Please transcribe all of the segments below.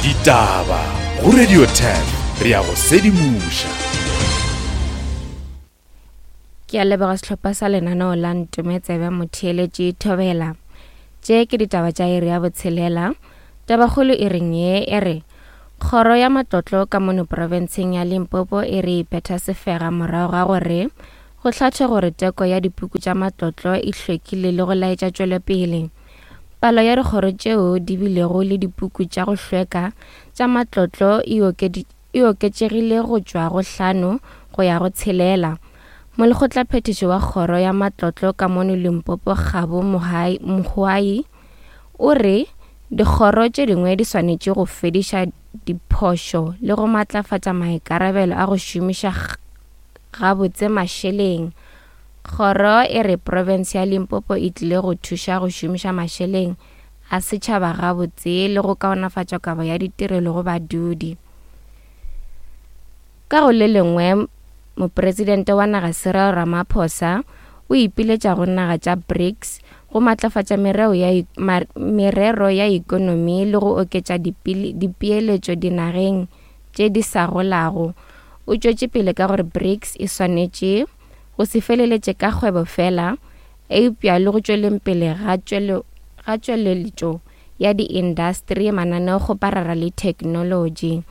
Ditaba go Radio 10 re ya go sedimoša. Ke a leboga sehlopha sa lenaneo la Ntome Tsebe Motheeletši Thobela. Tše ke ditaba tša iri ya botshelela. Tabakgolo e reng ye e re Kgoro ya Matlotlo ka mono profenseng ya Limpopo e re iphetha sefega morago ga gore go hlathwe gore teko ya dipuku tša matlotlo e hlwekile le go laetša tšwelopele. Palo ya dikgoro tšeo di bilego le dipuku tša go hlweka tša matlotlo e e oketšegile go tšwa go hlano go ya go tshelela. Molekgotlaphethiši wa Kgoro ya Matlotlo ka mono Limpopo Kgabo Mohoai o re dikgoro tše dingwe di swanetše go fediša diphošo le go matlafatša maikarabelo a go šomiša gabotse mašeleng. Kgoro e re profense ya Limpopo e tlile go thuša go šomiša mašeleng a setšhaba gabotse le go kaonafatša kabo ya ditirelo go badudi. Ka go le lengwe, Mopresidente wa naga Cyril Ramaphosa o ipiletša go naga tša BRICS go matlafatša mereo ya, merero ya ekonomi le go oketša dipeeletšo dinageng tše di sa golago. O tšwetše pele ka gore BRICS e swanetše go se feleletše ka kgwebo fela, eupša le go tšweleng pele ga ga tšweletšo ya diindasteri, mananeokgoparara le theknolotši.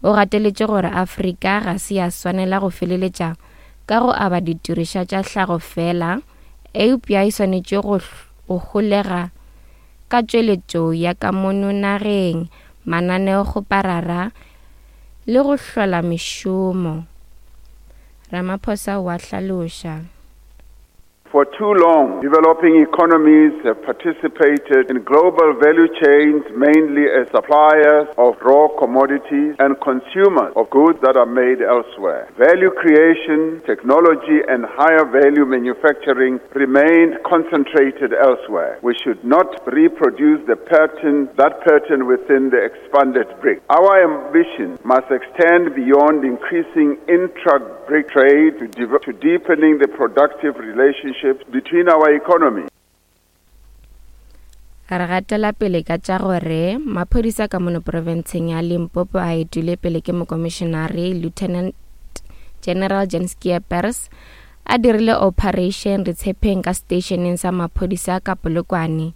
O gateletše gore Afrika ga se ya swanela go feleletša ka go aba ditirišwa tša hlago fela, eupša e swanetše go go holega ka tšweletšo ya ka mono nageng, mananeokgoparara le go hlola mešomo. Ramaphosa o a hlaloša. For too long, developing economies have participated in global value chains mainly as suppliers of raw commodities and consumers of goods that are made elsewhere. Value creation, technology, and higher value manufacturing remained concentrated elsewhere. We should not reproduce the pattern, that pattern within the expanded BRIC. Our ambition must extend beyond increasing intra BRIC trade to, to deepening the productive relationships between our economies. Re gatela pele ka tša gore maphodisa ka mono profenseng ya Limpopo a etile pele ke mokomišenare Lieutenant General Jan Skeepers a dirile operation re tshepeng ka stationeng sa maphodisa ka Polokwane.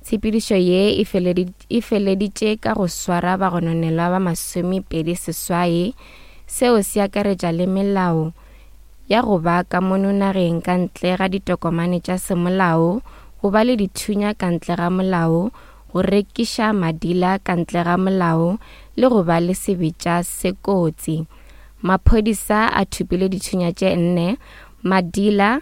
Tshepedišo ye e feleditše ka go swara bagononelwa ba 28 Seo se akaretša le melao ya go ba ka mono nageng ka ntle ga ditokomane tša semolao, go ba le dithunya ka ntle ga molao, go rekiša madila ka ntle ga molao le go ba le sebetša se kotsi. Maphodisa a thopile dithunya tše nne, madila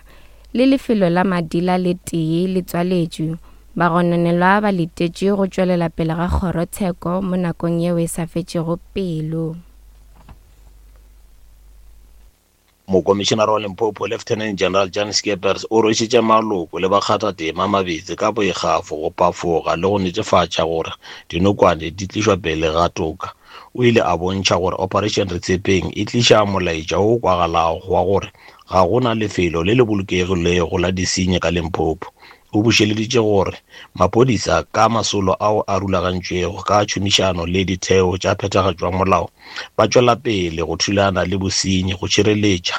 le lefelo la madila le tee le tswaletšwe. Bagononelwa ba letetšwe go tšwelela pele ga kgorotsheko mo nakong yeo e sa fetšego pelo. Mokomišenare wa Limpopo, Lieutenant General Jan Skeepers o rwešitše maloko le bakgathatema mabetse ka boikgafo go phafoga le go netefatša gore dinokwane di tlišwa pele ga toka. O ile a bontšha gore Operation Retshepeng e tliša molaetša wo o kwagalago wa gore ga go na lefelo le le bolokegilego la disenyi ka Limpopo. O bušeleditše gore maphodisa ka masolo ao a rulagantšwego ka tšhomišano le ditheo tša phethagatšo ya molao ba tšwela pele go thulana le bosenyi go šireletša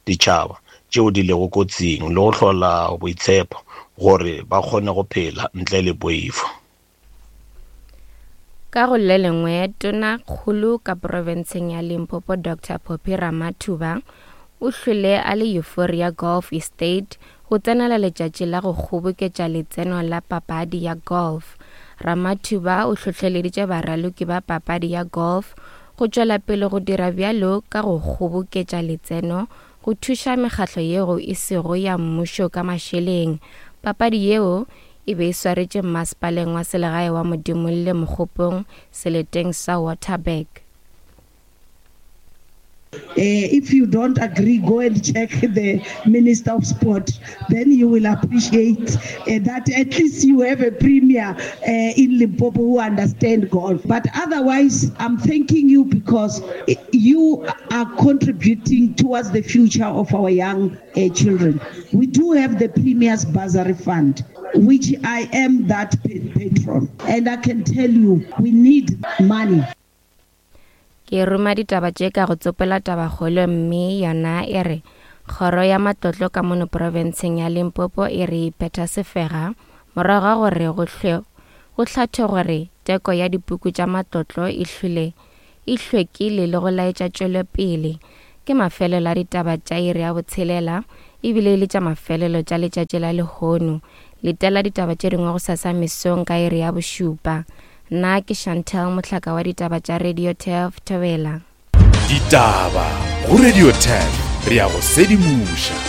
ditšhaba tšeo di lego kotsing le go hlola boitshepo gore ba kgone go phela ntle le poifo. Ka go le lengwe, Tonakgolo ka profenseng ya Limpopo Doctor Phophi Ramathuba o hlwele a le Euphoria Golf Estate go tsenela letšatši la go kgoboketša letseno la papadi ya golf. Ramathuba o hlohleleditše baraloki ba papadi ya golf go tšwela pele go dira bjalo ka go kgoboketša letseno go thuša mekgatlo yeo e sego ya mmušo ka mašeleng. Papadi yeo e be e swaretše mmasepaleng wa selegae wa Modimolle Mokgopong seleteng sa Waterberg. Uh, if you don't agree, go and check the Minister of Sport. Then you will appreciate uh, that at least you have a premier uh, in Limpopo who understand golf. But otherwise, I'm thanking you because you are contributing towards the future of our young uh, children. We do have the Premier's Bursary Fund, which I am that patron. And I can tell you, we need money. Ke ruma ditaba tše ka go tsopola tabakgolo mme yona e re Kgoro ya Matlotlo ka mono profenseng ya Limpopo e re iphetha sefega morago ga gore go hlwe go hlathwe gore teko ya dipuku tša matlotlo e hlwile e hlwekile le go laetša tšwelopele. Ke mafelelo a ditaba tša iri ya botshelela ebile e le tša mafelelo tša letšatši la lehono. Letela ditaba tše dingwe gosasa mesong ka iri ya bošupa. Nna ke Chantel Mohlaka wa ditaba tša Radio Turf Thobela. Ditaba go Radio 10 re ya go sedimoša.